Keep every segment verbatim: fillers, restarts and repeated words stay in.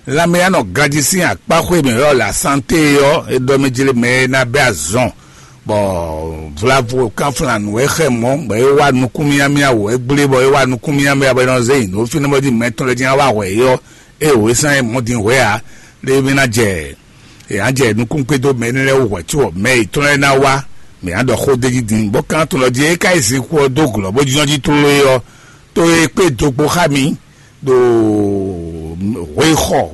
Lanmɛyánɔ ganjí sín akpáxwé mǐ ɔ́, la santé ɔ́, é ɖɔ mɛ jlé mɛ e ná bɛ́ azɔn, bɔ vlavo kánflán nǔ e xɛ mɔ̌, bɔ é wá nukún miamia wǒ, é gblé bɔ é wá nukún miamia bɔ é nɔ zé nyi nǔ fínɛ́ bɔ jí mɛ tɔn lɛ́ɛ jɛ́n wá hwɛ é ɔ́, é wǒ é sán é mɔ̌ din hwɛ ǎ, lě e mì ná jɛ è nǎ jɛ nukún kpédó mɛ énɛ́ lɛ́ɛ wú hwɛ̌ có, mɛ yětɔn lɛ́ɛ ná wá, mǐ ná ɖɔ xó d'é jí din, bó kan tunɔ jí é ka yi zinkú ɔ́ dó glɔ̌ bó jínjɔ́n jí tlóló é ɔ́, tó e kpé do kpó xá mì ɖo hweyixɔ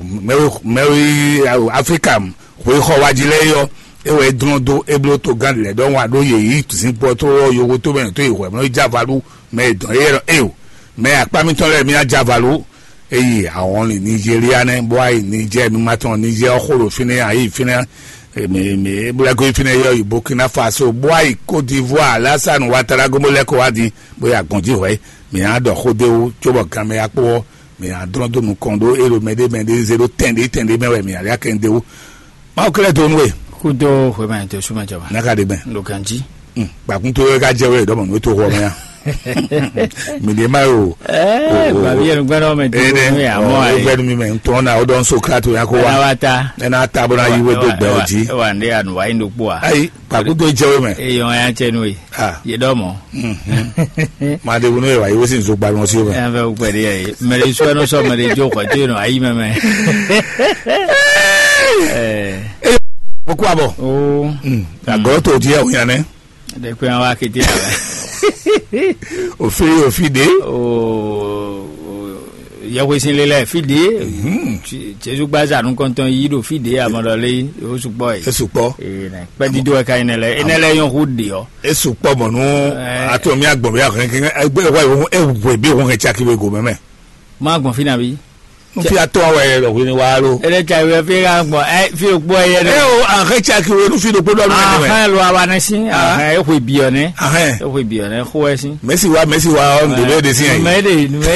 mɛwi Aflika hweyixɔ wa jí lɛ́ɛ é ɔ́, é wɛ é dlɔ́n dó é bló togán lɛ̌ ɖɔhun wá ɖó yě yi zinkú ɔ́ tlóló ɔ́ yogo tó mɛ tó yi hwɛ̌ mɛ é jɛ avaɖu mɛ e dɔn éyɛ́ ɖɔ éo, mɛ akpá mitɔn lɛ́ɛ mì ná jɛ avaɖu. Eye ahɔn li Nigeria nɛ́, bó wá yi Niger, mi ma tɔn Niger ɔ́ xo ɖo fínɛ́, ayi fínɛ́, mi mi bó lɛ́ gɔ́ yi fínɛ́ yɔ yi Burkina Faso, bó wá yi Côte d'Ivoire, Alassane Ouattara gɔ́n bó lɛ́ kɔ wá din, bó yi agbɔ̌n jí hwɛ̌, mi ná ɖɔ xó d'é wú, cóbɔ ganmɛ ya kpó ɔ́, mi ná dlɔ́n dó nukɔn ɖó é ɖo mɛɖé mɛɖé zé ɖó tɛn ɖé tɛn ɖé mɛ wɛ mi ná lɛ́ akɛn d'é wú. Mawu kɛlɛ dó nú we. Kúdó hwemɛ tó súnmọ́ jọba. N'a ka ɖe gbɛn. Ló kan jí. Gbàkún tó yẹ ká jẹ wẹ dɔmọ nú tó xɔ mɛ ya. Mi ɖe ma yo. Ɛɛ gbabi yẹn gbɛdɔ mɛ tó nú yà mɔ ayi. Ó gbẹnu mi mɛ ntọ́ na ó dɔn Socrate ya kó wa. Ɛna wa ta. Ɛna ta bó na yi wé dó gbɛ o jí. Wa ndé anu wa yi ɖo kpó a. Ayi gbàkún tó jẹ wé mɛ. Eyɔn ya cɛ nú ye. Ah. Yé dɔmɔ. Ma ɖe wunú yɛ wa yi wé sin zogba nɔ sí o mɛ. Ɛn fɛ wukpɛ ɖe yɛ. Mɛ ɖe sɔ ɛnɔ sɔ mɛ ɖe jó xɔ tó yɛ nɔ ayi mɛ mɛ. Ɛɛ. Mo kó abɔ. Oo. Agɔlɔ tó di yɛ o yan nɛ. Ɖe kpɛ wa kété yà wɛ. Òfin òfin de. Oo. Yɛhwesin lelɛ fi de. Jesu gbaza nukɔntɔn yi ɖo fi de amɔɖɔ le o sukpɔ yi. E sukpɔ. Ee nɛ kpɛ dido wɛ ka yi nɛ lɛ enɛ lɛ yɔn hu de ɔ. E sukpɔ mɔ nú atɔ mi agbɔn bi ahɛn kɛkɛ egbe wa yi hu ewu bi hu hɛn caki we go mɛmɛ. Ma gbɔn fi na bi. Nufi atɔ wɛ yɛ lɔ hwini wa lo. Ele ca wɛ fi ka gbɔn ɛ fi o gbɔ yɛ dɛ. E o ahɛn caki we nufi ɖokpo dɔ mi nɛ mɛ. Ahɛn lo awa nɛ si ahɛn e hwe bi ɔ nɛ. Ahɛn. E hwe bi ɔ nɛ xo wɛ si. Mɛsi wa mɛsi wa ɔ nde bɛ de si yɛ. Mɛ de mɛ.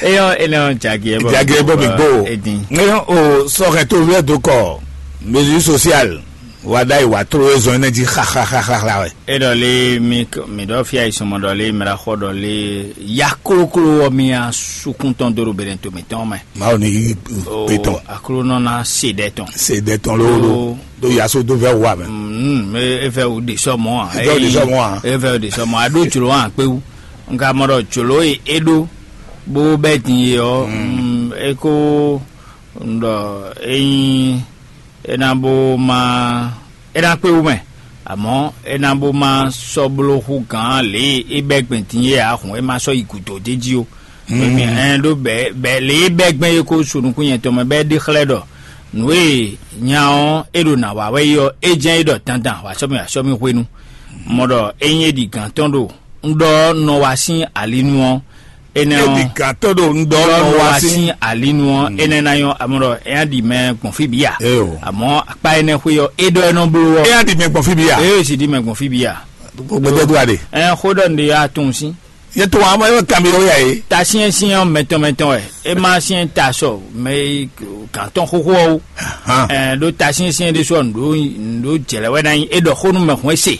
Eyɔ enɛ ɔ jagi ɛ bɔ jagi ɛ bɔ mi gbo edin. Eyɔ o sɔkɛ to vlɛ do kɔ mesure sociale wa da yi wa tro ezɔn enɛ ji xaxaxaxa wɛ. E dɔ le mi mi dɔ fia yi sɔmɔ dɔ le mra xɔ dɔ le ya kloklo wɔ mi a sukun tɔn do do bɛnɛ to mi tɔn mɛ. Mawu ni yi pe tɔn. Aklo nɔ na se dɛ tɔn. Se dɛ tɔn lolo do yaso do vɛ wa mɛ. Mm, e fɛ o de sɔmɔ a. E fɛ o de sɔmɔ a. E fɛ o de sɔmɔ a do jlo a kpewu. Nka mɔ ɖɔ jolo e e ɖo bó bɛ din e ɔ e ko ɖɔ eyin e na bó ma e na kpe wú mɛ, amɔ̌ e na bó ma sɔ́ bló hú gǎn lě e é bɛ́ gbɛn din é ǎ hǔn é ma sɔ́ yi gǔdo d'é jí ó. Mɛ ɛn ɖó bɛ̌ bɛ̌ lě e é bɛ́ gbɛn é ko su nukún nyɛ tɔn mɛ bɛ́ ɖe xlɛ́ ɖɔ nǔ e nya ɔ́ é ɖo nǎ wa wɛ é ɔ́, é jɛ́n é ɖɔ dandan wǎ sɔ́ mì wǎ sɔ́ mì hwenu. Mɔ ɖɔ ényí é ɖi gǎn tɔn ɖo un ɖɔ ɔ́ nɔ wá sín ali nu ɔ́, énɛ́ ɔ́ Edigantɔ ɖo un ɖɔ nɔ wá sín ali nu ɔ́, énɛ́ ná nyɔ́ amɔ ɖɔ é ná ɖi mɛ gbɔn fí bǐ a? Amɔ̌ akpá énɛ́ xwé ɔ́, é ɖɔ é nɔ bló ɔ́. É ná ɖi mɛ gbɔn fí bǐ a? É sì ɖi mɛ gbɔn fí bǐ a? Gbɛdɛdua ɖe. Ɛ xó ɖɔ nǔɖé yá tunwun sín. Yɛ to wa mɛ kan mi ya ye. Ta syɛ́nsyɛ́n ɔ́ mɛtɔn mɛtɔn wɛ. É má syɛ́n ta sɔ mɛ gǎn tɔn xóxó ɔ́ wú. Ɛɛ ɖó ta syɛ́nsyɛ́n ɖésú ɔ́ nǔɖó nǔɖó jɛlɛ wɛ ná nyí é ɖɔ xó nú mɛ hɔn é se.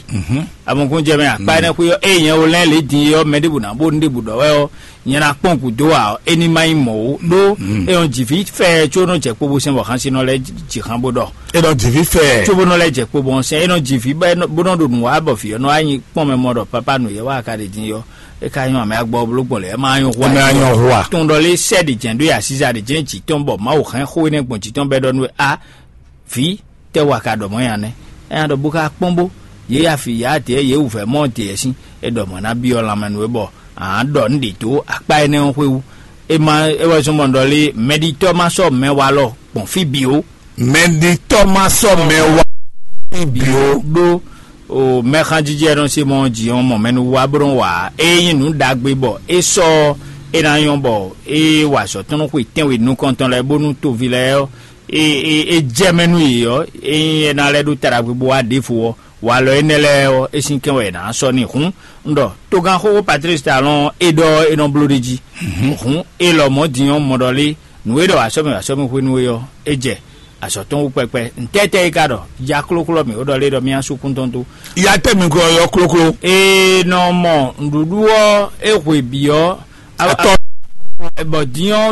Amɔkún jɛ mɛ akpa énɛ́ xwé ɔ́ eye nyɛ wo lɛ́n lě din é ɔ́ mɛ ɖěbǔ ná bó nú ɖěbǔ ɖɔ wɛ ɔ́, nyɛ ná kpɔ́n gǔdo ǎ ɔ́, é ní má nyí mɔ̌ ó. Ɖó é nyɔ́ jǐ fí fɛ́ɛ có nɔ jɛ kpo bó sɛn bɔ xán sín nɔ lɛ́ɛ jǐ xán bó ɖɔ. É nɔ jǐ fí fɛ́ɛ. Có bó nɔ lɛ́ jɛ kpo bó sɛn é nɔ jǐ fí bó nɔ ɖo nǔ wa bɔ vǐ ɔ́ nɔ wá nyi kpɔ́n mɛ mɔ ɖɔ pápá nǔ yɛ wá ka ɖe din é ɔ́, é ka nyɔ́ amɛ agbɔ bló gbɔn lě ɛ má nyɔ́ hwa. Ɛ má nyɔ́ hwa. Tɔn ɖɔ lé sɛ ɖi jɛ̌n ɖó ya síza ɖi jɛ̌n jǐ tɔn bɔ Mawu hɛn xó énɛ́ gbɔn jǐ tɔn bɔ é ɖɔ nú we a vǐ tɛ́ wa ka ɖɔ mɔ̌ nya nɛ́? É nya ɖɔ bó ka kpɔ́n bó yě ya fi yǎ dě yě wǔvɛ́ mɔ dě ɛ sín é ɖɔ mɔ̌ ná byɔ́ lanmɛ nú we bɔ ǎ ɖɔ nǔ ɖě dó akpá énɛ́ ɔ́ xwé wú. É má é wɛ zɔ́n bɔ un ɖɔ lé mɛɖitɔ́ má sɔ́ mɛ walɔ gbɔn fí bǐ ó. Mɛɖitɔ́ má sɔ́ mɛ wá bǐ ó. Ɖó o mɛxanjijɛ nɔ se mɔ jǐ ɔ́ mɔ mɛnu wá bó nɔ wa ée nyí nǔ ɖagbe bɔ é sɔ́ é ná nyɔ́ bɔ é wa azɔ̌ tɔn nú xwe tɛ́nwe nukɔntɔn lɛ́ɛ bónú toví lɛ́ɛ ɔ́ é é é jɛ mɛ nú yě ɔ́, ényí é ná lɛ́ ɖó ta ɖagbe bó wá ɖěvo ɔ́, walɔ énɛ́ lɛ́ɛ ɔ́, é sín kɛ́n wɛ è nǎ sɔ́ n'i hǔn. Un ɖɔ togán xóxó Patlísi Talɔ́n ɔ́, é ɖɔ é nɔ bló ɖ'é jí. Hǔn é lɔmɔ̌ din ɔ́, mɔ ɖɔ lé nǔ e ɖɔ wǎ sɔ́ mì wǎ sɔ́ mì hwenu é ɔ́, é jɛ azɔ̌ tɔn wú kpɛkpɛ. Ntɛ́tɛ́ é ka ɖɔ? Ja klókló mǐ ó ɖɔ lé ɖɔ mì asú kún tɔn dó. Ya tɛ́ mi glɔ́ yɔ klókló. Ee nɔ mɔ nǔɖuɖu ɔ́ é hwe bǐ ɔ́, atɔ bɔ din ɔ́